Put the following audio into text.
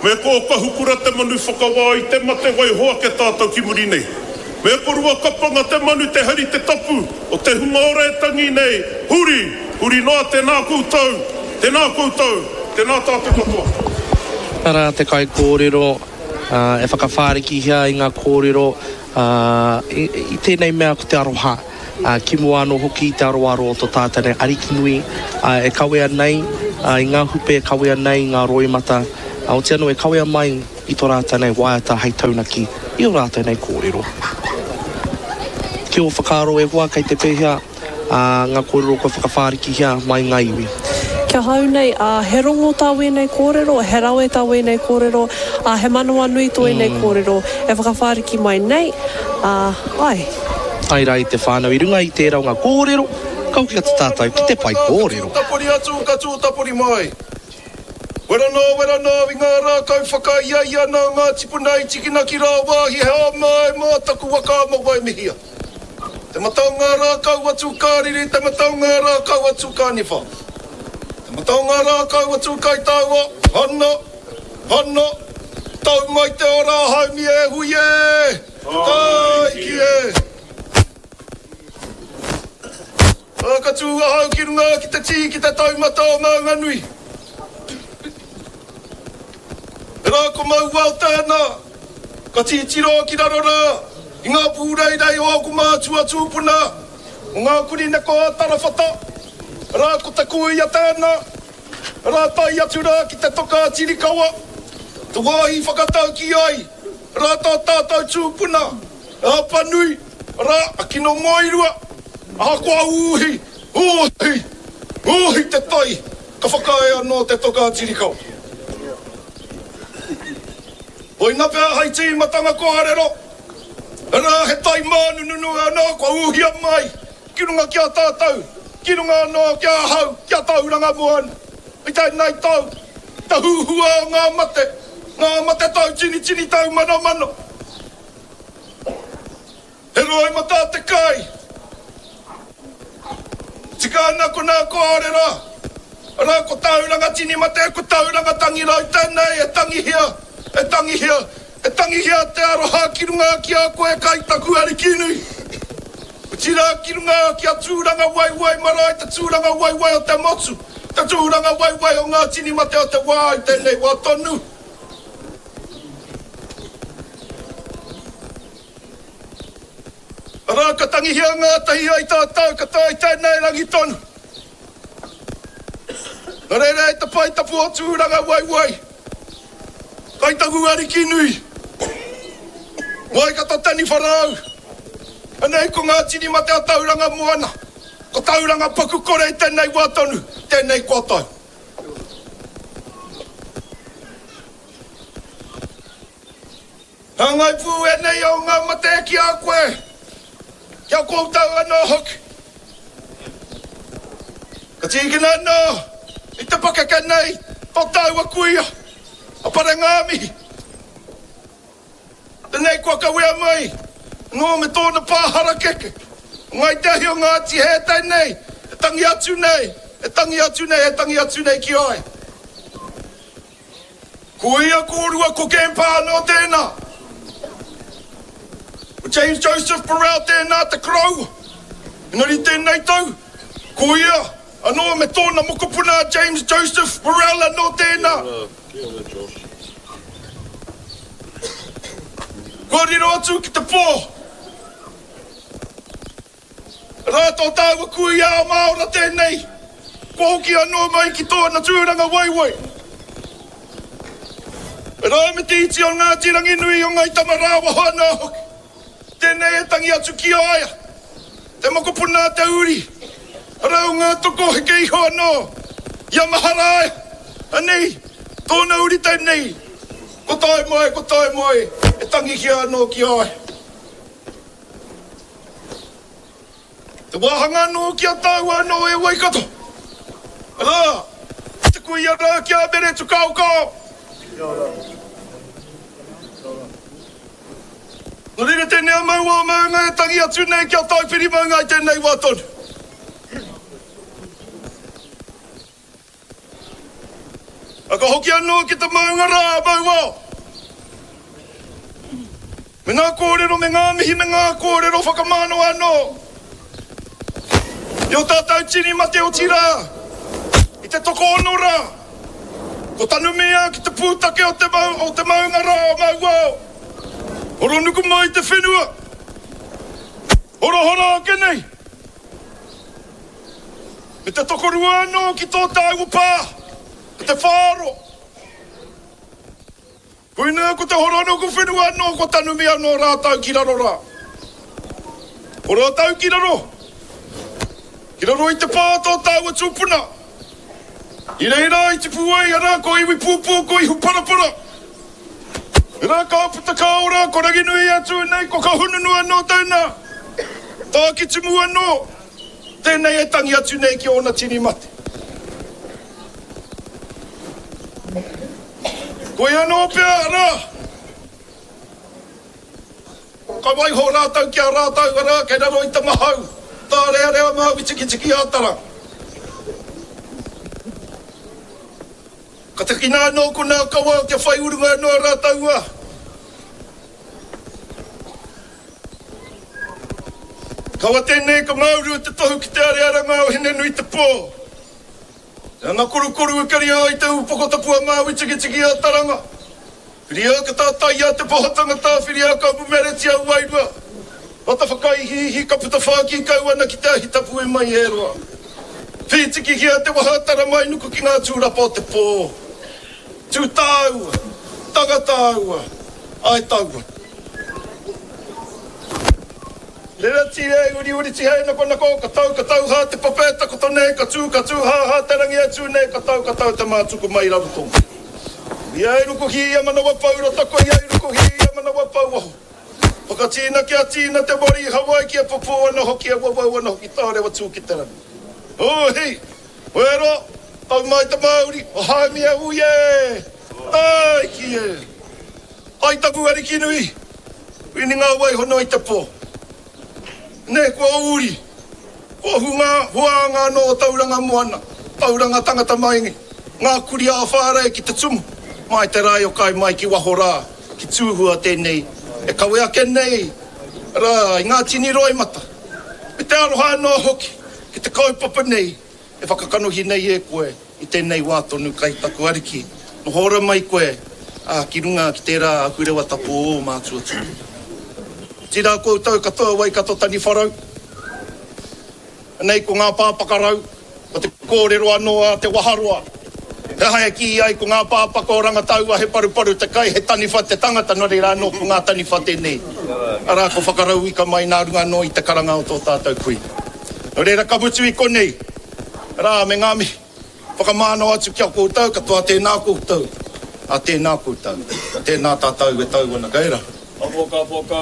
Me ko Kahukura te manu whakawā i te mate waiho ake tātou ki muri nei. Me ko Ruakapanga te manu te hari te tapu o te hunga ora e tangi nei, huri, huri noa tēnā koutou, tēnā koutou, tēnā tātou katoa. Arā te kaikōrero e whakawhārikihia i ngā kōrero i tēnei mea ko te aroha. Ā, ki mua anō hoki i te aroaro o to tātou nei Ariki nui, ā, e kawea nei i ngā hupe, e kawea nei i ngā roimata, ā, otirā anō e kawea mai i to rātou nei waiata hei taunaki i ō rātou nei kōrero. Ki ō whakaaro e hoa, kei te pēhea, ā, ngā kōrero kua whakawhārikihia mai ngā iwi? Ki ahau nei, ā, he rongo tā wēnei kōrero, he rawe tā wēnei kōrero, ā, he manawanui tō ēnei kōrero e whakawhāriki mai nei, ā, āe. Tae rā i te whānau i runga i tērā o ngā kōrero, ka hoki atu tātou ki te pae kōrero. Ka tūtapori atu, ka tūtapori mai. Wera nō, wera nō, i ngā rākau whakaiaia nā ngā tipuna i tikina ki rāwāhi he āmai mā taku waka ama waimihia. Te mata o ngā rākau atu ka riri, te mata o ngā rākau atu ka niwha. Te mata o ngā rākau atu kai taua, hana, hana, tau mai te ora haumi e hui e! Tāiki e! Ā, ka tū ahau ki runga ki te tī ki te taumata o Maunganui. Rā ko Mauao tēnā, ka titiro ki raro rā i ngā pūreirei o ōku mātua tūpuna, o ngā kurī neko a Tarawhata. Rā ko te kūia tēnā, rā tae atu rā ki te toka a Tirikawa, te wāhi whakataukī ai Rā tā tātou tūpuna, a Apanui, rā a Kinomoirua, ahakoa ūhi, ūhi, ūhi te tai, ka whakaae anō te toka a Tirikau. Koina pea hai tīmatanga kōrero, rā he tai mānununu anō kua ūhia mai ki runga ki a tātou, ki runga anō ki ahau, ki a Tauranga Moana. I tēnei tau, te huhua o ngā mate, ngā mate tau tinitini tau manomano. He roimata te kai. Tika ana ko nā kōrero, arā ko Tauranga tini mate, ko Tauranga tangi rau tēnei e tangihia, e tangihia, e tangihia te aroha ki runga ki a koe kai taku Arikinui. Otirā ki runga ki a Tūrangawaewae marae te tūrangawaewae o te motu, te tūrangawaewae o ngā tini mate o te wā i tēnei wā tonu. Arā ka tangihia ngātahi ai tātou ka tae tēnei rangi tonu. Nō reira e te pae tapu o Tūrangawaewae, kai taku ariki nui, Waikato taniwha rau. Anei ko ngā tini mate a Tauranga Moana, ko Tauranga paku kore i tēnei wā tonu, tēnei kua tau. Hāngai pū ēnei o ngā mate ki a koe, ki a koutou anō hoki. Ka tīkina anō i te pakeke nei tō tāua kuia, a Parengāmihi. Tenei kua kawea mai anō me tōna pā harakeke. O Ngāi Te Ahi o Ngāti Hē tēnei e tangi atu nei, e tangi atu nei, e tangi atu nei ki a ia. Ko ia kōrua ko Gempa anō tēnā. Ko James Joseph Burrell tēnā te koroua. Engari tēnei tau, ko ia anō me tōna mokopuna a James Joseph Burrell anō tēnā. Kia ora Josh. Kua riro atu ki te pō. Rā tō tāua kuia a Māora tēnei, kua hoki anō mai ki tōna tūranga waiwai. Rā me te iti o Ngāti Ranginui o Ngai Tamarāwaho anō hoki. Tēnei e tangi atu ki a ia, te mokopuna a te uri, arā o ngā toko heke iho anō i a Maharaia, anei, tōna uri tēnei, ko tae mai, ko tae mai, e tangihia anō ki a ia. Te wāhanga anō ki a tāua anō e Waikato, arā, te kuia rā ki a Mere Tukaokao. Kia ora. Kia ora. Nō reira tēnei a Maua o Maunga e tangi atu nei ki a Taupiri Maunga i tēnei wā tonu. A ka hoki anō ki te maunga rā a Mauao. Me ngā kōrero, me ngā mihi, me ngā kōrero whakamānawa anō i ō tātou tini mate otirā i te tokoono rā ko tanumia ki te pūtake o te, o te maunga rā o Mauao. Horonuku mai te whenua, horohoro ake nei. Me te tokorua anō ki tō tāua pā, ko te whāro. Koinā ko te horonuku whenua anō kua tanumi anō rātou ki raro rā. Ko rātou ki raro, ki raro i te pā tō tāua tūpuna. I reira i tipu ai, arā, ko Iwipūpū, ko Ihuparapara. Arā, ka puta ka ora, ko Ranginui atu nei, ko Kahungunu anō tēnā. Tākitimu anō, tēnei e tangi atu nei ki ōna tini mate. Koia anō pea, arā, ka waiho rātou ki a rātou, arā, kei raro i te mahau, tārearea Māui Tikitiki a Tara. Ka takina anō konā kawa kia whai urunga anō a rātou, ā. Kawa tēnei ka māuru te tohu ki te arearanga o Hinenuitepō. Te anga korukoru e karia ai te upoko tapu a Māui Tikitiki a Taranga. Whiria ka tātaia te poho tangata, whiria ka mumeretia wairua. Rata whakaihiihi ka puta whākī kau ana ki te ahi tapu e mai e roa. Whītikihia te waha tara mai nuku ki ngā tūrapa o te pō. Tū tāua, tanga tāua, ae taua. Rerati e uriuri tihei nakonako, ka tau ka tau hā te papa e takoto nei, ka tū ka tū hā hā te rangi e tū nei, ka tau ka tau te mātuku mai raro tonga. Ia e rukuhi ia manawa pou rota ko ia e rukuhi ia manawa pou waho. Whakatīna kia tīna te mori i Hawaiki e pupū ana hoki e wawau ana hoki tārewa tū ki te rangi. Hū hi! Wero! Tau mai te mauri, o Haumia ui e! Tāiki e! Ai taku ariki nui, wini ngā wai hono i te pō. Nei kua uri, kua hunga huānga anō o Tauranga Moana, Tauranga tangata mai ngā kuri ā-whārei ki te tumu, mai te rae o kai mai ki waho rā, ki Tūhua tēnei e kawe ake nei rā i ngā tini roimata, me te aroha anō hoki ki te kaupapa nei e whakakanohi nei e koe. I tēnei wā tonu kai taku Ariki, noho ora mai koe, ā, ki runga ki tērā ahurewa tapu o ō mātua tūpuna. Otirā koutou katoa Waikato Taniwharau, anei ko ngā pāpakarau, ko te kōrero anō a Te Waharoa, he aha e kī ai ko ngā pāpaka o Rangataua he paruparu te kai, he taniwha te tangata, nō reira anō ko ngā taniwha tēnei, arā ko whakarauika mai nā runga anō i te karanga o tō tātou kui. Nō reira ka mutu i konei. Rā me ngā mihi whakamānawa atu ki a koutou katoa tēnā koutou, ā tēnā koutou, tēnā tātou e tau ana kei rā. Ka poka poka.